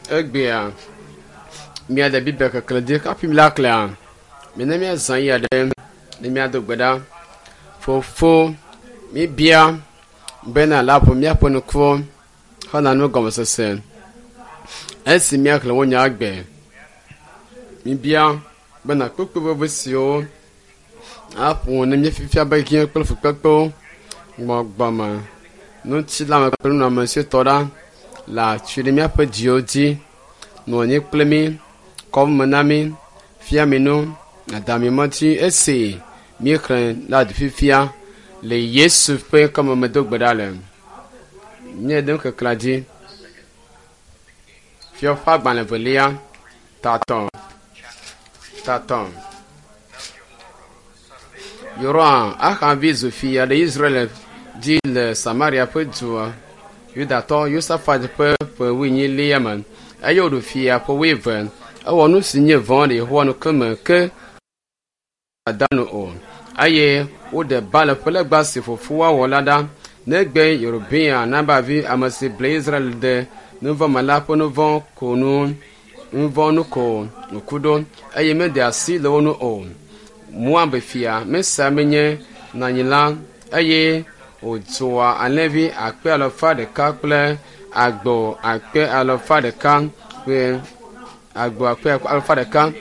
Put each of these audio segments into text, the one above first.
Egbea míade Biblia keklẽ dzi hafi míla klẽa, mina míazã ɣeyiɣi aɖe ne míado gbe ɖa. Fofo, míbia bena nàle ʋu míaƒe ŋkuwo hena nugɔmesese esi míaxlẽ wò nya egbe. Míbia bena kpukpui vevi siwo aƒo ne míefifia be hiã kple fukpekpewo, gbɔgbɔme, ŋutilãme kple nunɔamesitɔ ɖa le atsi ɖe míaƒe dziwo dzi. Nɔ anyi kple mí, kɔ me na mí, fia mi nu, nàda mi mɔ dzi esi míexlẽ la fifia le Yesu ƒe ŋkɔme medo gbe ɖa le. Míede nukeklẽa dzi. Fiawo ƒe agbalẽ velia, tatɔ, tatɔ. Yoram, Ahab vi zu fia le Israel dzi le Samaria ƒe dua Yudatɔ Yosafat ƒe ƒe wuienyilia me eye wòɖu fia ƒe wuieve. Ewɔ nu si nye vɔ̃ le Yehowa ŋkume ke dada nu o eye woɖe Baal ƒe legba si fofoa wɔ la ɖa negbe Yerobeam Naba vi ame si ble Israel de nuvɔ̃ me la ƒe nuvɔ̃ ko nu nuvɔ̃ nu ko wòku ɖo eye meɖe asi le wo ŋu o. Moab fia Mesa menye nanyila eye wòdzɔa alẽvi akpe alafa ɖeka kple agbo akpe alafa ɖeka kple agbo akpe alafa ɖeka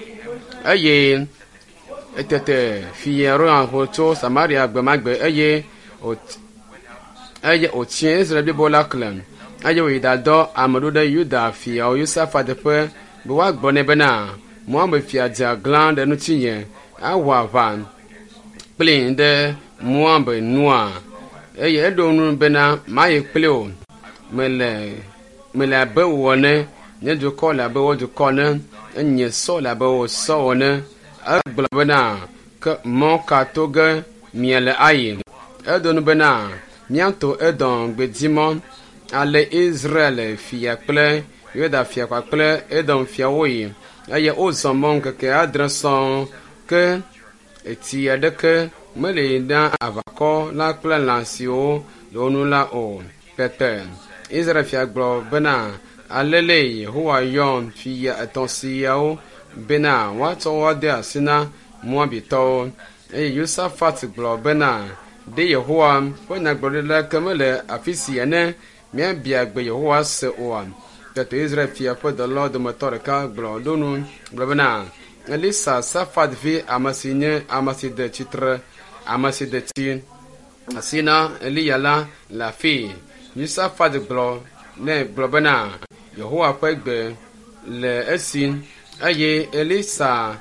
eye etete fia Rohan ho tso Samaria gbe ma gbe eye eye wòtsi Israel blibo la klẽ eye wòyi ɖadɔ ame ɖo ɖe Yuda fiawo Yosafat ƒe be woagblɔ nɛ bena Moab fia dze aglã ɖe ŋutinye awɔ aʋa kpli ɖe Moab nua eye eɖo ŋu bena mayi kpli wò mele mele abe wò ene nye dukɔ le abe wò dukɔ ene nye sɔ le abe wò sɔ ene egblɔ bena ke mɔ ka to ge miele ayi edo nu bena míato Edom gbedimɔ ale Israel fia kple Yuda fia kpakple Edom fiawo yi eye wozɔ mɔ ŋkeke adre sɔŋ ke etsi aɖeke meli na aʋakɔ la kple lã siwo le wo ŋu la o. Tete Israel fia gblɔ bena alele Yehowa yɔ fia etɔ̃ siawo bena woatsɔ wo ade asi na Moabitɔwo. Eye Yosafat gblɔ bena ɖe Yehowa ƒe nyagblɔɖila ke mele afi sia ne míabia gbe Yehowa se oa? Tete Israel fia ƒe dɔlawo dometɔ ɖeka gblɔ ɖo nu gblɔ bena Elisa Safat vi ame si nye ame si de tsitre ame si de tsi asi na Eliya la le afii. Yosafat gblɔ nɛ gblɔ bena Yehowa ƒe gbe le esi eye Elisa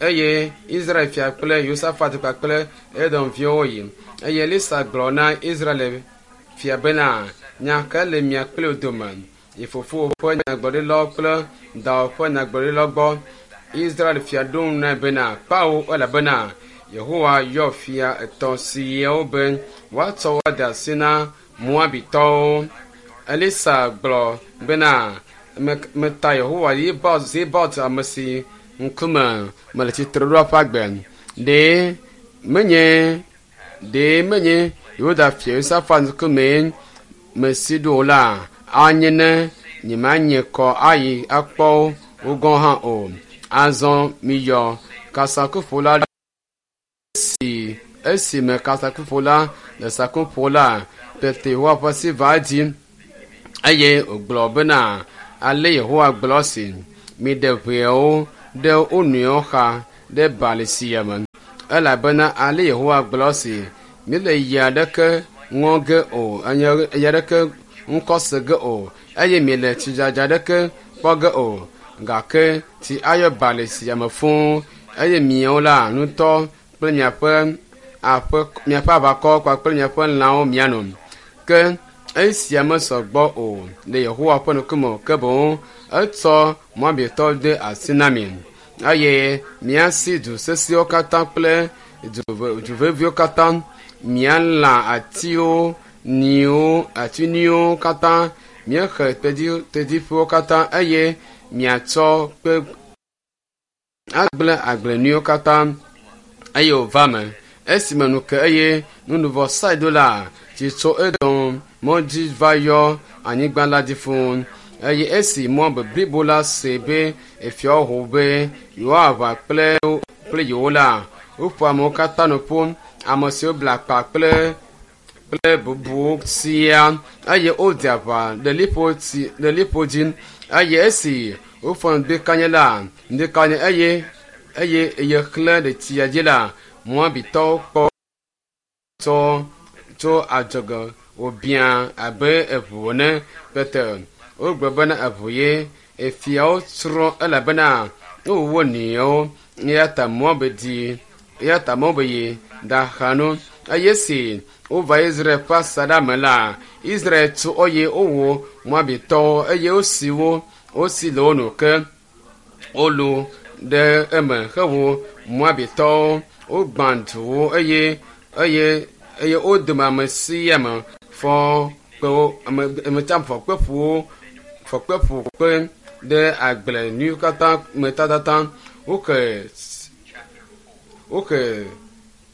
eye Israel fia kple Yosafat kpakple Edom viwo yi. Eye Elisa gblɔ na Israel fia bena nya ka le mia kple wò dome? Yi fofowò ƒe nyagblɔɖilawo kple dawò ƒe nyagblɔɖilawo gbɔ. Israel fia ɖo ŋu nɛ bena kpawo elabena Yehowa yɔ fia etɔ̃ siawo be woatsɔ wo ade asi na Moabitɔwo. Elisa gblɔ bena meta Yehowa Zebaot ame si ŋkume mele tsitre ɖo ƒe agbe. Ɖe menye ɖe menye Yuda fia Yosafat ŋkumee mesi ɖo o la, anye ne nyemanye kɔ ayi akpɔ wo gɔ̃ hã o. Azɔ miyɔ kasaŋkuƒola esi esime kasaŋkuƒola le saŋku ƒom la, tete Yehowa ƒe asi va edzi eye wògblɔ bena ale Yehowa gblɔ esi miɖe ʋeawo ɖe wo nɔewo xa ɖe bali sia me elabena ale Yehowa gblɔ esi míele yi aɖeke ŋɔ ge o eye aɖeke ŋkɔ se ge o eye miele tsidzadza aɖeke kpɔ ge o gake tsi ayɔ bali sia me fũu eye miawo la ŋutɔ kple miaƒe aƒe miaƒe aʋakɔ kpakple miaƒe lãwo miano. Ke esia mesɔ gbɔ o le Yehowa ƒe ŋkume o ke boŋ etsɔ Moabitɔwo de asi na mi eye miasi du sesẽwo katã kple du veviwo katã mialã atiwo nyiwo ati nyuiwo katã miaxe tedziƒewo katã eye miatsɔ kpe agblẽ agble nyuiwo katã eye wòva me esime nu ke eye nunuvɔsae do la tsi tso Edom mɔ dzi va yɔ anyigba la dzi fũu. Eye esi Moab blibo la se be efiawo ho be yewoaʋa kple yewo la, woƒo amewo katã nu ƒu, ame siwo bla akpa kple bubuwo siaa, eye wode aʋa le liƒo dzi. Eye esi wofɔ ŋdikanye la, ŋdikanye eye eye xlẽ le tsia dzi la, Moabitɔwo kpɔ tso adzɔge wòbiã abe eʋu ene. Tete wogblɔ bena eʋu ye. Efiawo tsrɔ̃ elabena wowu wo nɔewo. Eya ta Moab yi ɖaxa nu. Eye esi wova Israel ƒe asaɖa me la, Israel tu eye wowu Moabitɔwo eye wosi le wo nu ke wolu ɖe eme hewu Moabitɔwo. Wogbã duwo eye wo dome ame sia ame fɔ kpe ƒu kpe ɖe agble nyuiwo katã me tatata. Woke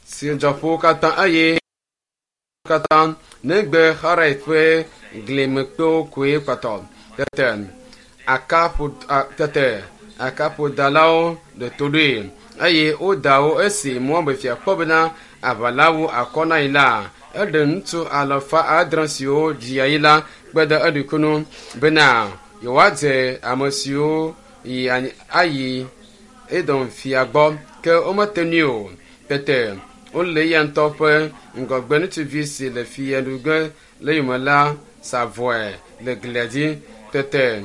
tsidzɔƒewo katã eye katã negbe Haret ƒe glimekpewo koe kpɔtɔ. Tete akaƒodalawo ɖe to ɖoe eye woda wo. Esi Moab fia kpɔ bena aʋa la wu akɔ na yi la, eɖe ŋutsu 700 siwo dzia yi la kpe ɖe eɖokui ŋu bena yewoadze ame siwo ayi Edom fia gbɔ, ke womete ŋui o. Tete wole eya ŋutɔ ƒe ŋgɔgbe ŋutsuvi si le fiaɖuƒe le yome la sa vɔe le glia dzi. Tete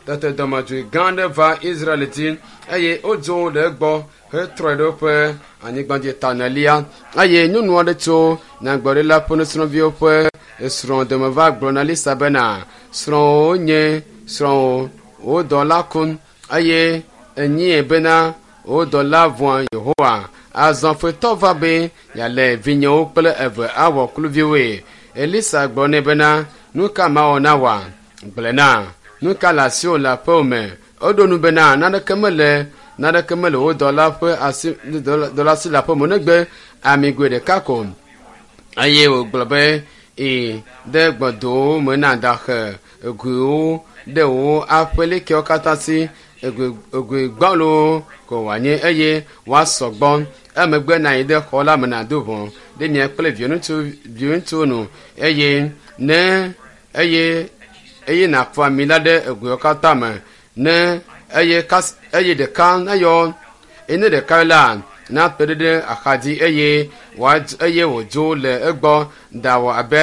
dɔmedzoe gã aɖe va Israel dzi eye wodzo le egbɔ hetrɔe ɖe woƒe anyigba dzi tanelia. Eye nyɔnu aɖe tso nyagblɔɖila ƒe nusrɔ̃viwo ƒe srɔ̃ dome va gblɔ na Elisa bena, srɔ̃wò nye srɔ̃wò, wò dɔla ku, eye enyie bena wò dɔla vɔ̃a Yehowa. Azɔ futɔ va be yealé vinyewo kple eve awɔ kluviwoe. Elisa gblɔ nɛ bena, nu ka mawɔ na wòa? Gblɔe na. Nu ka le asiwò le aƒewò me? Eɖo nu bena, naneke mele wò dɔla ƒe asi dɔla si le aƒeme negbe amigoe ɖeka ko. Eye wògblɔ be, yi ɖe gbɔdowo me na ɖaxe egoewo ɖe wò aƒelikewo katã si, egoe gbɔlowo ko wòanye eye woasɔ gbɔ. Emegbe nayi ɖe xɔ la me nàdo ʋɔ ɖe mia kple viwò nu eye nàfɔ ami la ɖe egoewo katã me. Ne eye ɖeka nayɔ ene ɖeka la nakpe ɖe axadzi eye wòdzo le egbɔ ɖawɔ abe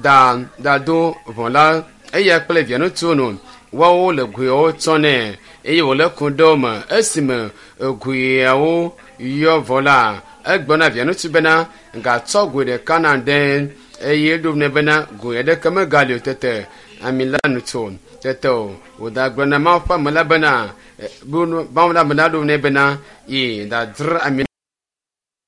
ɖado ʋɔ la eya kple via ŋutsuwo nu. Woawo le goewo tsɔ nɛ eye wòle ku ɖe wo me. Esime goeawo yɔ vɔ la, egblɔ na via ŋutsu bena, gatsɔ goe ɖeka na ɖe. Eye eɖo nɛ bena, goe aɖeke megali o. Tete ami la nu tso. Tete wòɖagblɔ na Mawu ƒe ame la bena, Mawu ƒe ame la ɖo nɛ bena, yi ɖadzra ami.